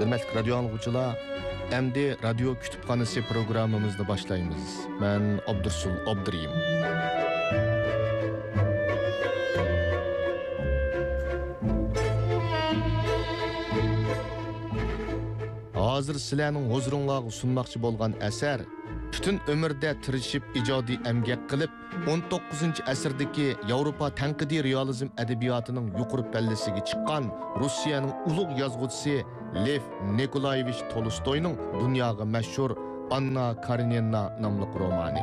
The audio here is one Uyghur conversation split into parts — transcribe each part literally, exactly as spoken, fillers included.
ھۆرمەتلىك رادىيو ئاڭلىغۇچىلار، ئەمدى رادىيو كۇتۇپخانىسى پروگراممىمىزنى باشلايمىز. مەن ئابدۇرسۇل ئابدۇرېھىم. ھازىر سىلەرنىڭ ھۇزۇرۇڭلارغا سۇنماقچى بولغان ئەسەر پۈتۈن ئۆمرىدە تىرىشىپ ئىجادىي ئەمگەك قىلىپ، ئون توققۇزىنچى ئەسىردىكى ياۋروپا تەنقىدىي رېئالىزم ئەدەبىياتىنىڭ يۇقىرى پەللىسىگە چىققان روسىيەنىڭ ئۇلۇغ يازغۇچىسى لېف نىكولايېۋىچ تولستوينىڭ دۇنياغا مەشھۇر ئاننا كارېنىنا ناملىق رومانى.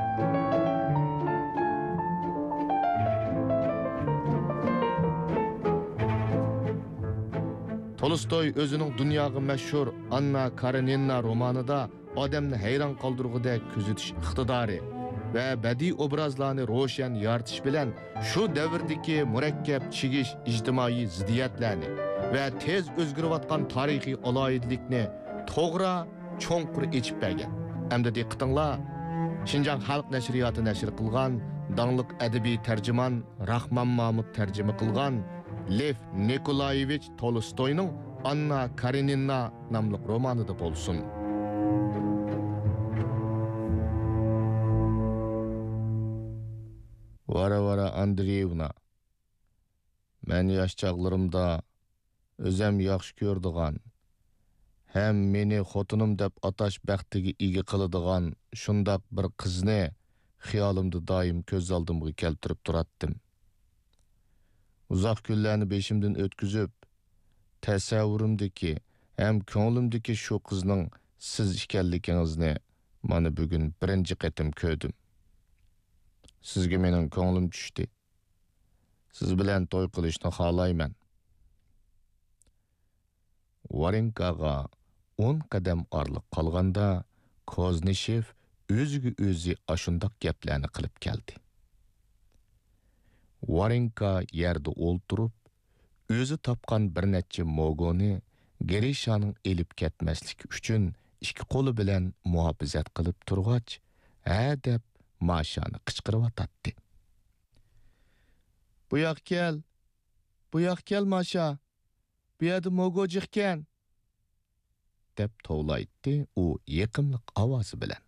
تولستوي ئۆزىنىڭ دۇنياغا مەشھۇر ئاننا كارېنىنا رومانىدا ئادەمنى ھەيران قالدۇرغۇدەك كۆزىتىش ئىقتىدارى ۋە بەدىئىي ئوبرازلارنى روشەن يارىتىش بىلەن شۇ دەۋردىكى مۇرەككەپ چىگىش ئىجتىمائىي زىددىيەتلەرنى ۋە تېز ئۆزگىرىۋاتقان تارىخىي ئالاھىدىلىكنى توغرا، چوڭقۇر ئېچىپ بەرگەن. ئەمدى دىققىتىڭلار، شىنجاڭ خەلق نەشرىياتى نەشر قىلغان داڭلىق ئەدەبىي تەرجىمان راخمان مامۇت تەرجىمە قىلغان لېف نىكولايېۋىچ تولستوينىڭ ئاننا كارېنىنا ناملىق رومانىدا بولسۇن. ۋارۋارا ئاندرېيېۋنا، مەن ياش چاغلىرىمدا ئۆزەم ياخشى كۆرىدىغان، ھەم مېنى خوتۇنۇم دەپ ئاتاش بەختىگە ئىگە قىلىدىغان شۇنداق بىر قىزنى خىيالىمدا دائىم كۆز ئالدىمغا كەلتۈرۈپ تۇراتتىم. ئۇزاق كۈنلەرنى بېشىمدىن ئۆتكۈزۈپ، تەسەۋۋۇرۇمدىكى ھەم كۆڭلۈمدىكى شۇ قىزنىڭ سىز ئىكەنلىكىڭىزنى مانا بۈگۈن بىرىنچى قېتىم كۆردۈم. سىزگە مېنىڭ كۆڭلۈم چۈشتى. سىز بىلەن توي قىلىشنى خالايمەن. ۋارېنكاغا ئون قەدەم ئارىلىق قالغاندا، كوزنىشېف ئۆزىگە ئۆزى ئاشۇنداق گەپلەرنى قىلىپ كەلدى. ۋارېنكا يەردە ئولتۇرۇپ، ئۆزى تاپقان بىر نەچچە موگونى گرىشانىڭ ئېلىپ كەتمەسلىكى ئۈچۈن ئىككى قولى بىلەن مۇھاپىزەت قىلىپ تۇرغاچ، ھە دەپ ماشانى قىچقىرىۋاتاتتى. «بۇ ياققا كەل! بۇ ياققا كەل، ماشا! بۇ يەردە موگو جىقكەن!» دەپ توۋلايتتى ئۇ يېقىملىق ئاۋازى بىلەن.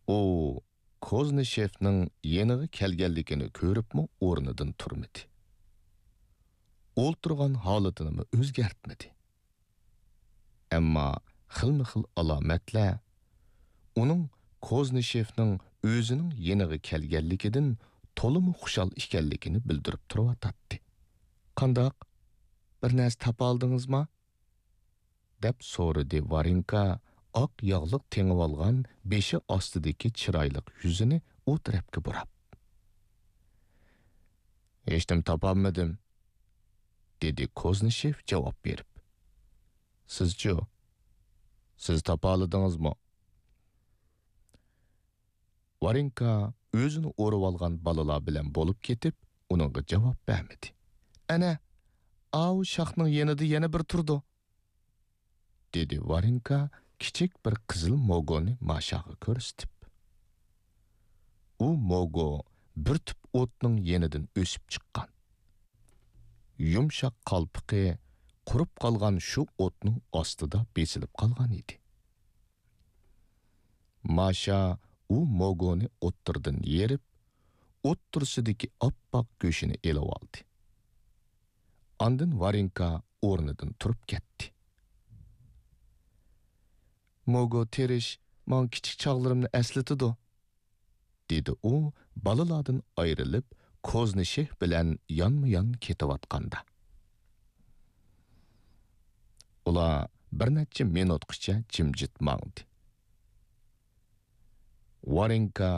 ئۇ كوزنىشېفنىڭ يېنىغا كەلگەنلىكىنى كۆرۈپمۇ ئورنىدىن تۇرمىدى. ئولتۇرغان ھالىتىنىمۇ ئۆزگەرتمىدى. ئەمما خىلمۇ خىل ئالامەتلەر ئۇنىڭ كوزنىشېفنىڭ ئۆزىنىڭ يېنىغا كەلگەنلىكىدىن تولىمۇ خۇشال ئىكەنلىكىنى بىلدۈرۈپ تۇرۇۋاتاتتى. «قانداق؟ بىر نەرسە تاپالدىڭىزما؟» دەپ سورىدى ۋارېنكا ئاق ياغلىق تېڭىۋالغان بېشى ئاستىدىكى چىرايلىق يۈزىنى ئۇ تەرەپكە بۇراپ. «ھېچنېمە تاپالمىدىم»، دېدى كوزنىشېف جاۋاب بېرىپ. «سىزچۇ؟ سىز تاپالىدىڭىزمۇ؟» ۋارېنكا ئۆزىنى ئورىۋالغان بالىلار بىلەن بولۇپ كېتىپ، ئۇنىڭغا جاۋاب بەرمىدى. «ئەنە، ئاۋۇ شاخنىڭ يېنىدا يەنە بىر تۇرىدۇ»، دېدى ۋارېنكا كىچىك بىر قىزىل موگونى ماشاغا كۆرسىتىپ. ئۇ موگو بىر تۈپ ئوتنىڭ يېنىدىن ئۆسۈپ چىققان. يۇمشاق قالپىقى قۇرۇپ قالغان شۇ ئوتنىڭ ئاستىدا بېسىلىپ قالغان ئىدى. ماشا ئۇ موگونى ئوتتۇرىدىن يېرىپ، ئوتتۇرىسىدىكى ئاپئاق گۆشىنى ئېلىۋالدى. ئاندىن ۋارېنكا ئورنىدىن تۇرۇپ كەتتى. «موگو تېرىش ماڭا كىچىك چاغلىرىمنى ئەسلىتىدۇ»، دېدى ئۇ بالىلاردىن ئايرىلىپ، كوزنىشېف بىلەن يانمۇيان كېتىۋاتقاندا. ئۇلار بىر نەچچە مىنۇتقىچە جىمجىت ماڭدى. ۋارېنكا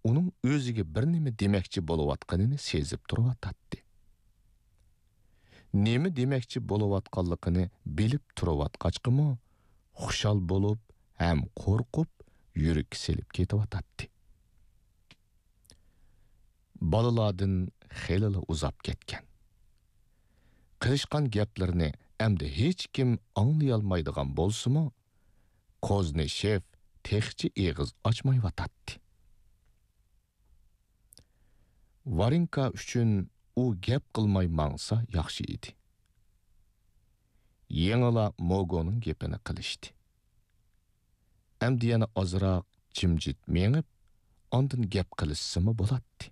ئۇنىڭ ئۆزىگە بىر نېمە دېمەكچى بولۇۋاتقىنىنى سېزىپ تۇرۇۋاتاتتى. نېمە دېمەكچى بولۇۋاتقانلىقىنى بىلىپ تۇرۇۋاتقاچقىمۇ، خۇشال بولۇپ ھەم قورقۇپ، يۈرىكى سېلىپ كېتىۋاتاتتى. بالىلاردىن خېلىلا ئۇزاپ كەتكەن. قىلىشقان گەپلىرىنى ئەمدى ھېچكىم ئاڭلىيالمايدىغان بولسىمۇ، كوزنىشېف تېخىچە ئېغىز ئاچمايۋاتاتتى. ۋارېنكا ئۈچۈن ئۇ گەپ قىلماي ماڭسا ياخشى ئىدى. يېڭىلا موگونىڭ گېپىنى قىلىشتى. ئەمدى يەنە ئازراق جىمجىت مېڭىپ، ئاندىن گەپ قىلىشسىمۇ بولاتتى.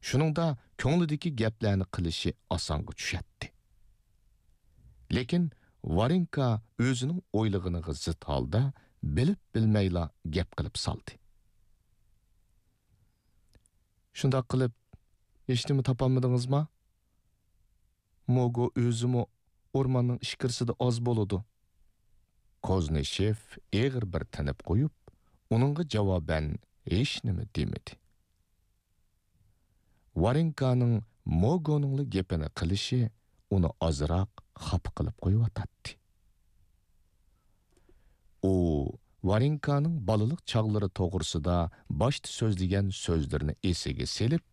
شۇنىڭدا كۆڭلىدىكى گەپلەرنى قىلىشى ئاسانغا چۈشەتتى. لېكىن ۋارېنكا ئۆزىنىڭ ئويلىغىنىغا زىت ھالدا بىلىپ-بىلمەيلا گەپ قىلىپ سالدى. شۇنداق قىلىپ، ھېچنېمە تاپالمىدىڭىزما؟ موگو ئۆزىمۇ ئورماننىڭ ئىچكىرىسىدە ئاز بولىدۇ. كوزنىشېف ئېغىر بىر تىنىپ قويۇپ، ئۇنىڭغا جاۋابەن ھېچنېمە دېمىدى. ۋارېنكانىڭ موگونىڭلا گېپىنى قىلىشى ئۇنى ئازراق خاپا قىلىپ قويۇۋاتاتتى. ئۇ ۋارېنكانىڭ بالىلىق چاغلىرى توغرىسىدا باشتا سۆزلىگەن سۆزلىرىنى ئېسىگە سېلىپ،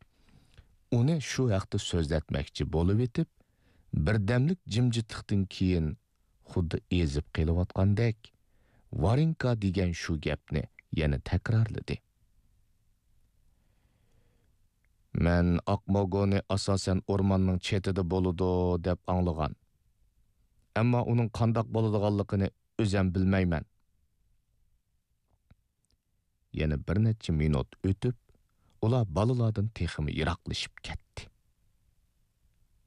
ئۇنى شۇ ھەقتە سۆزلەتمەكچى بولۇۋېتىپ، بىردەملىك جىمجىتلىقتىن كېيىن، خۇددى ئېزىپ قېلىۋاتقاندەك، ۋارېنكا دېگەن شۇ گەپنى يەنە تەكرارلىدى. مەن ئاق موگونى ئاساسەن ئورماننىڭ چېتىدە بولىدۇ دەپ ئاڭلىغان. ئەمما ئۇنىڭ قانداق بولىدىغانلىقىنى ئۆزەم بىلمەيمەن. يەنە بىر نەچچە مىنۇت ئۆتۈپ، ئۇلار بالىلاردىن تېخىمۇ يىراقلىشىپ كەتتى.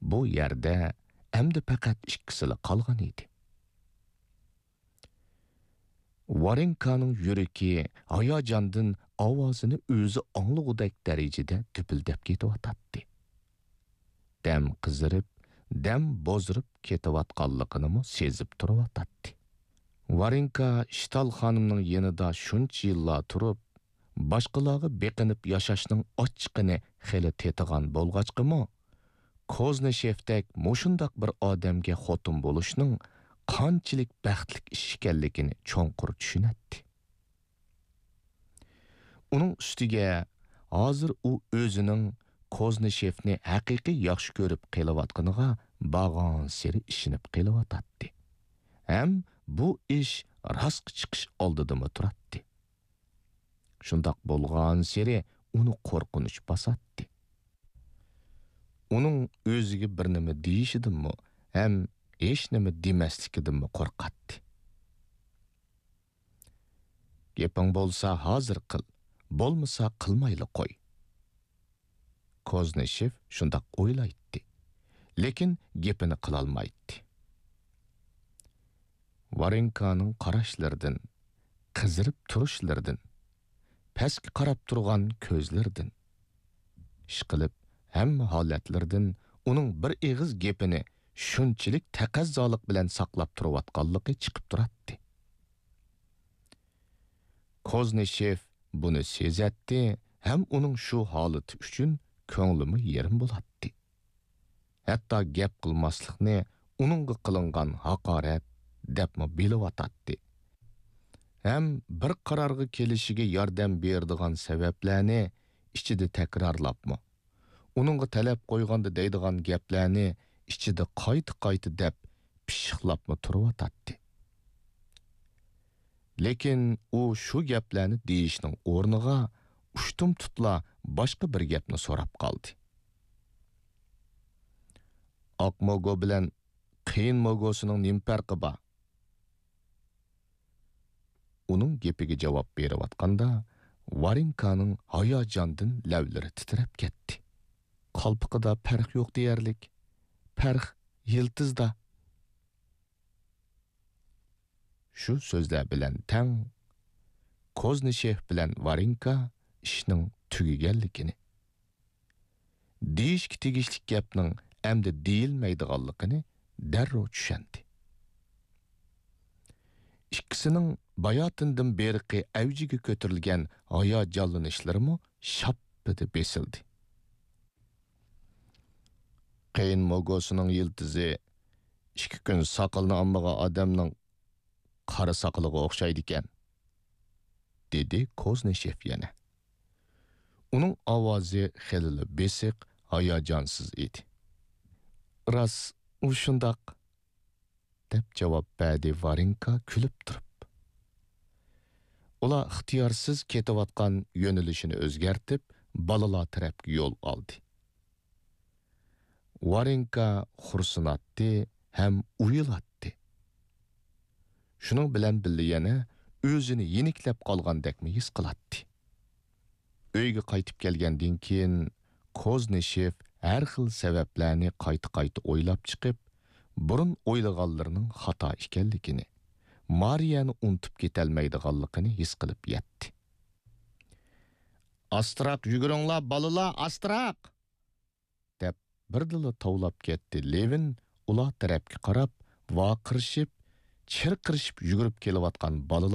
بۇ يەردە ئەمدى پەقەت ئىككىسىلا قالغان ئىدى. ۋارېنكانىڭ يۈرىكى ھاياجاندىن ئاۋازىنى ئۆزى ئاڭلىغۇدەك دەرىجىدە دۈپۈلدەپ كېتىۋاتاتتى. دەم قىزىرىپ، دەم بوزىرىپ كېتىۋاتقانلىقىنىمۇ سېزىپ تۇرۇۋاتاتتى. ۋارېنكا شتال خانىمنىڭ يېنىدا شۇنچە يىللار تۇرۇپ، باشقىلارغا بېقىنىپ ياشاشنىڭ ئاچچىقىنى خېلى تېتىغان بولغاچقىمۇ، كوزنىشېفتەك مۇشۇنداق بىر ئادەمگە خوتۇن بولۇشنىڭ قانچىلىك بەختلىك ئىش ئىكەنلىكىنى چوڭقۇر چۈشىنەتتى. ئۇنىڭ ئۈستىگە ھازىر ئۇ ئۆزىنىڭ كوزنىشېفنى ھەقىقىي ياخشى كۆرۈپ قېلىۋاتقىنىغا بارغانسېرى ئىشىنىپ قېلىۋاتاتتى. ھەم بۇ ئىش راستقا چىقىش ئالدىدىمۇ تۇراتتى. شۇنداق بولغانسېرى ئۇنى قورقۇنچ باساتتى. ئۇنىڭ ئۆزىگە بىر نېمە دېيىشىدىنمۇ ھەم ھېچنېمە دېمەسلىكىدىنمۇ قورقاتتى. گېپىڭ بولسا ھازىر قىل، بولمىسا قىلمايلا قوي. كوزنىشېف شۇنداق ئويلايتتى، لېكىن گېپىنى قىلالمايتتى. ۋارېنكانىڭ قاراشلىرىدىن، قىزىرىپ تۇرۇشلىرىدىن، پەسكە قاراپ تۇرغان كۆزلىرىدىن، ئىشقىلىپ ھەممە ھالەتلىرىدىن ئۇنىڭ بىر ئېغىز گېپىنى شۇنچىلىك تەقەززالىق بىلەن ساقلاپ تۇرۇۋاتقانلىقى چىقىپ تۇراتتى. كوزنىشېف بۇنى سېزەتتى ھەم ئۇنىڭ شۇ ھالىتى ئۈچۈن كۆڭلىمۇ يېرىم بولاتتى. ھەتتا گەپ قىلماسلىقنى ئۇنىڭغا قىلىنغان ھاقارەت دەپمۇ بىلىۋاتاتتى. ھەم بىر قارارغا كېلىشىگە ياردەم بېرىدىغان سەۋەبلەرنى ئىچىدە تەكرارلاپمۇ، ئۇنىڭغا تەلەپ قويغاندا دەيدىغان گەپلەرنى ئىچىدە قايتا-قايتا دەپ پىششىقلاپمۇ تۇرۇۋاتاتتى. لېكىن ئۇ شۇ گەپلەرنى دېيىشنىڭ ئورنىغا ئۇشتۇمتۇتلا باشقا بىر گەپنى سوراپ قالدى. ئاق موگو بىلەن قېيىن موگوسىنىڭ نېمە پەرقى بار؟ ئۇنىڭ گېپىگە جاۋاب بېرىۋاتقاندا، ۋارېنكانىڭ ھاياجاندىن لەۋلىرى تىترەپ كەتتى. قالپىقىدا پەرق يوق دېيەرلىك. پەرق يىلتىزدا. شۇ سۆزلەر بىلەن تەڭ، كوزنىشېف بىلەن ۋارېنكا ئىشنىڭ تۈگىگەنلىكىنى، دېيىشكە تېگىشلىك گەپنىڭ ئەمدى دېيىلمەيدىغانلىقىنى دەررۇ چۈشەندى. ئىككىسىنىڭ باياتىندىن بېرىقى ئەۋجىگە كۆتۈرۈلگەن ھاياجانلىنىشلىرىمۇ شاپپىدە بېسىلدى. قېيىن موگوسىنىڭ يىلتىزى ئىككى كۈن ساقىلىنى ئالمىغان ئادەمنىڭ قارا ساقىلىغا ئوخشايدىكەن، دېدى كوزنىشېف يەنە. ئۇنىڭ ئاۋازى خېلىلا بېسىق، ھاياجانسىز ئىدى. راست، ئۇ شۇنداق، دەپ جاۋاب بەردى ۋارېنكا كۈلۈپ تۇرۇپ. ئۇلار ئىختىيارسىز كېتىۋاتقان يۆنىلىشىنى ئۆزگەرتىپ، بالىلار تەرەپكە يول ئالدى. ۋارېنكا خورسىناتتى ھەم ئۇيىلاتتى. شۇنىڭ بىلەن بىللە يەنە ئۆزىنى يېنىكلەپ قالغاندەكمۇ ھېس قىلاتتى. ئۆيگە قايتىپ كەلگەندىن كېيىن، كوزنىشېف ھەر خىل سەۋەبلەرنى قايتا-قايتا ئويلاپ چىقىپ، بۇرۇن ئويلىغانلىرىنىڭ خاتا ئىكەنلىكىنى، مارىيەنى ئۇنتۇپ كېتەلمەيدىغانلىقىنى ھېس قىلىپ يەتتى. «ئاستىراق يۈگۈرۈڭلار، بالىلار، ئاستىراق!» دەپ، بىردىنلا توۋلاپ كەتتى لېۋىن ئۇلار تەرەپكە قاراپ، ۋارقىرىشىپ، چىرقىرىشىپ يۈگۈرۈپ كېلىۋاتقان بالىلار